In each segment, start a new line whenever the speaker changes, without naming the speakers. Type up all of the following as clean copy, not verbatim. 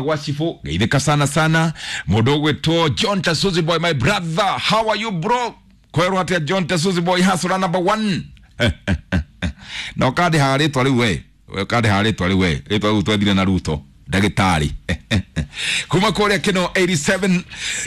Gwa Chifu geithĩka sana sana. Mũndũ ũgwĩtwo John Tasuzi boy, my brother, how are you bro? Kwerwo atĩa John Tasuzi boy, hustler number one. Na ũkandĩhaga rĩtwa rĩu we, ũkandĩhaga rĩtwa rĩu we, rĩtwa rĩu twethire na Ruto ndagĩtarĩ kuma kũrĩa kĩno 87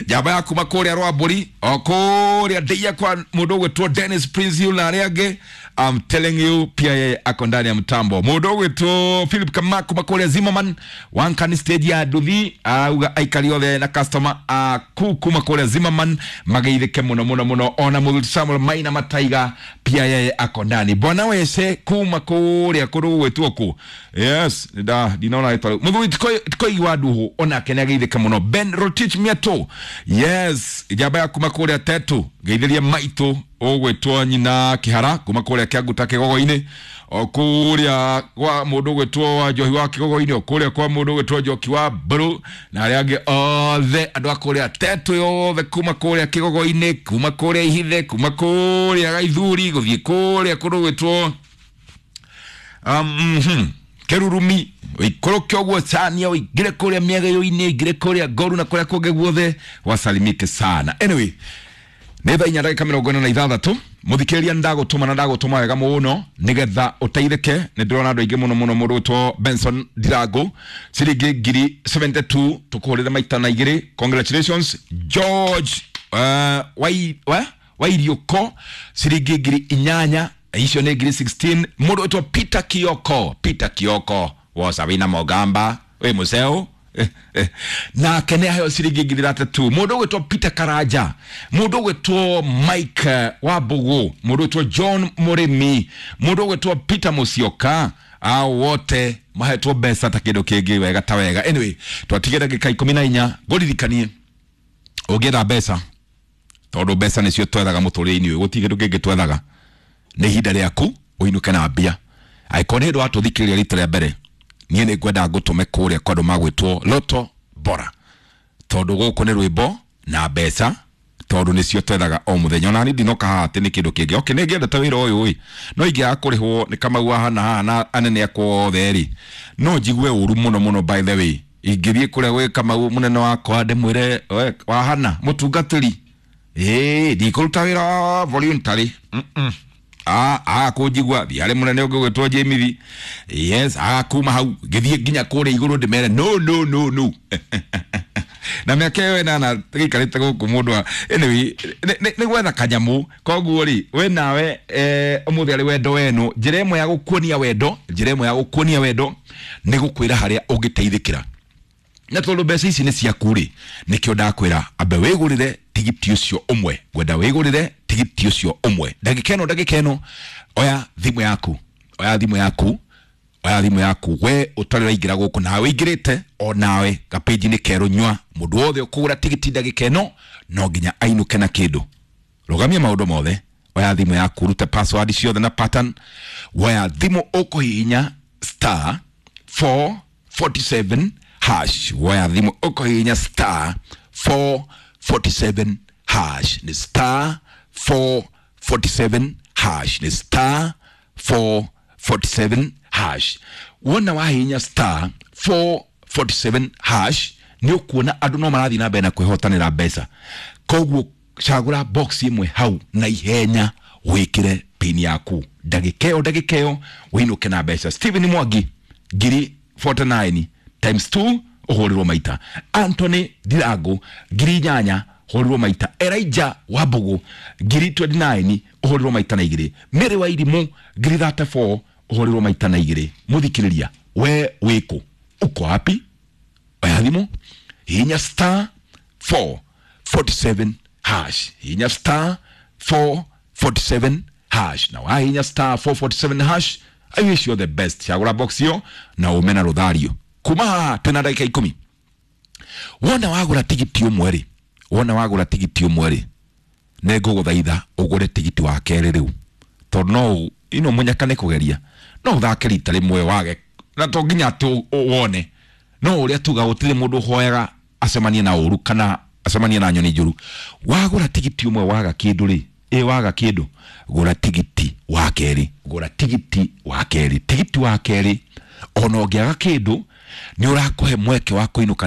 njamba ya kuma kũrĩa Rwambũri o kũrĩa ndĩia kwa mũndũ ũgwĩtwo Dennis Prince Hill na arĩa angĩ. I'm telling you, pia yeye ako ndani ya mtambo. Mũndũ ũgwĩtwo Philip Kama kuma kũrĩa Zimmerman wankani stage ya nduthi auga aikari othe na customer aku kuma kũrĩa Zimmerman mageithĩke mũno mũno mũno. Ona mũthuri Samuel Maina Mataiga pia yeye ako ndani. Bwana wese kuma kũrĩa kũndũ gũgwĩtwo kũ, yes, nda ndinona rĩtwa rĩu. Mũthuri Tikoigi wa Nduhu onake nĩ ageithĩka mũno. Ben Rotich Miato, yes, njamba ya kuma kũrĩa Tetu, geithĩria maitũ ũgwĩtwo nyina Kĩhara kuma kũrĩa Kĩanguta Kĩgogo-inĩ, o kũrĩa kwa mũndũ ũgwĩtwo wa Njohi wa Kĩgogo-inĩ, o kũrĩa kwa mũndũ ũgwĩtwo Njoki wa Mburu na arĩa angĩ othe andũ a kũrĩa Tetu yothe, kuma kũrĩa Kĩgogo-inĩ, kuma kũrĩa Ihithe, kuma kũrĩa Gaithuri, gũthiĩ kũrĩa kũndũ gwĩtwo Kerurumi, ũikũrũke ũguo cania, ũingĩre kũrĩa mĩegeyo-inĩ, ũingĩre kũrĩa Ngoru na kũrĩa kũngĩ guothe, wasalimike sana. Anyway, nĩ thaa 4:46. Mũthikĩrĩria, ndagũtũma na ndagũtũma wega mũno nĩgetha ũteithĩke. Nĩ ndĩrona andũ aingĩ mũno mũno. Mũndũ ũtwo Benson Ndirango, ciringi ngiri 72, tũkũhũrĩre maita na igĩrĩ, congratulations. George Wairiũko, ciringi ngiri 8, icio nĩ ngiri 16. Mũndũ ũtwo Peter Kioko, Peter Kioko wosa wĩna Mogamba wĩ mũceo nake nĩ aheo ciringi ngiri 32. Mũndũ ũgwĩtwo Peter Karanja, mũndũ ũgwĩtwo Mike Wambugu, mũndũ ũgwĩtwo John Mũrĩmi, mũndũ ũgwĩtwo Peter Mũcioka, ao wote mahetwo mbeca ta kĩndũ kĩngĩ wega ta wega. Anyway, twatige ndagĩka 14 ngũririkanie ũngĩenda mbeca, tondũ mbeca nĩcio twethaga mũtũrĩre-inĩ ũyũ, gũtirĩ kĩndũ kĩngĩ twethaga, nĩ ihinda rĩaku ũinũke na mbia. Angĩkorwo nĩ hĩndĩ watũthikĩrĩria rita rĩa mbere, niĩ nĩ ngwenda ngũtũme kũrĩa kwa andũ magwĩtwo Loto Bora, tondũ gũkũ nĩ rwĩmbo na mbeca, tondũ nĩcio twethaga o mũthenya. Ona niĩ ndinoka haha atĩ nĩ kĩndũ kĩngĩ. Okay, nĩ ngĩendete wĩra ũyũ ĩ, no ingĩaga kũrĩhwo nĩ Kamau haha haha na anene akwa othe rĩ, no njigue ũru mũno mũno. By the way, ingĩthiĩ kũrĩa gwĩ Kamau mũnene wakwa ndĩmwĩre, "We, wahana mũtungatĩri, ĩĩ ndikũruta wĩra wa voluntary." Aga kũnjigua thiĩ harĩ mũnene ũngĩ ũgwĩtwo Jemithi, yes, aga kuma hau ngĩthiĩ nginya kũrĩa igũrũ ndĩmere no no no no. Na mĩaka ĩyo ĩnana gĩikarĩte gũkũ mũndũ wa anyway nĩ gwetha kanyamũ. Koguo rĩ, we nawe ũmũthĩ arĩ wendo wenu, njĩra ĩmwe ya gũkuonia wendo, njĩra ĩmwe ya gũkuonia wendo nĩ gũkwĩra harĩa ũngĩteithĩkĩra. Na tondũ mbeca ici nĩ ciaku rĩ, nĩkĩo ndakwĩra ambe wĩgũrĩre tigiti ũcio ũmwe. Ngwenda wĩgũrĩre tigiti ũcio ũmwe ndagĩka ĩno, ndagĩka ĩno. Oya thimũ yaku, oya thimũ yaku, oya thimũ yaku, we ũtarĩ ũraingĩra gũkũ, nawe ũingĩrĩte o nawe gapĩnji-inĩ kerũ nyua. Mũndũ wothe ũkũgũra tigiti ndagĩka ĩno no nginya ainũke na kĩndũ. Rũgamia maũndũ mothe, oya thimũ yaku, rute password ciothe na pattern. Woya thimũ, ũkũhihinya star 447 hash. Woya thimũ, ũkũhihinya star 447 hash, nĩ star 447 hash, nĩ star 447 hash. Wona wahihinya star 447 hash, nĩ ũkuona andũ no marathiĩ na mbere na kwĩhotanĩra mbeca. Koguo cagũra box ĩmwe hau na ihenya, wĩkĩre pin yaku ndagĩka ĩyo, ndagĩka ĩyo wĩinũke na mbeca. Stephen Mwangi, ngiri 49 times 2, ũhũrĩrwo maita. Anthony Ndirango, ngiri 8, hũrĩrwo maita. Elijah Wambugu, ngiri 29, ũhũrĩrwo maita na igĩrĩ. Mary wa Irimũ, ngiri 34, ũhũrĩrwo maita na igĩrĩ. Mũthikĩrĩria, we wĩkũ? Uko wapi? Oya thimũ, hihinya star 447 hash, hihinya star 447 hash. Na wahihinya star 447 hash, I wish you the best. Cagũra box ĩyo na ume na rũthario kuma haha. Twĩna ndagĩka 10. Wona wagũra tigiti ũmwe rĩ, wona wagũra tigiti ũmwe rĩ, nĩ ngũgũthaitha ũgũre tigiti wa kerĩ rĩu, tondũ no ino mũnyaka nĩ kũgeria, no ũthake rita rĩmwe wage, na to nginya atĩ wone. No ũrĩa tuga, gũtirĩ mũndũ ũhoyaga acemanie na ũru kana acemanie na nyoni njũru. Wagũra tigiti ũmwe waga kĩndũ rĩ, ĩ waga kĩndũ, gũra tigiti wa kerĩ, gũra tigiti wa kerĩ. Tigiti wa kerĩ ona ũngĩaga kĩndũ Nĩ ũrakũhe mweke wa kũinũka.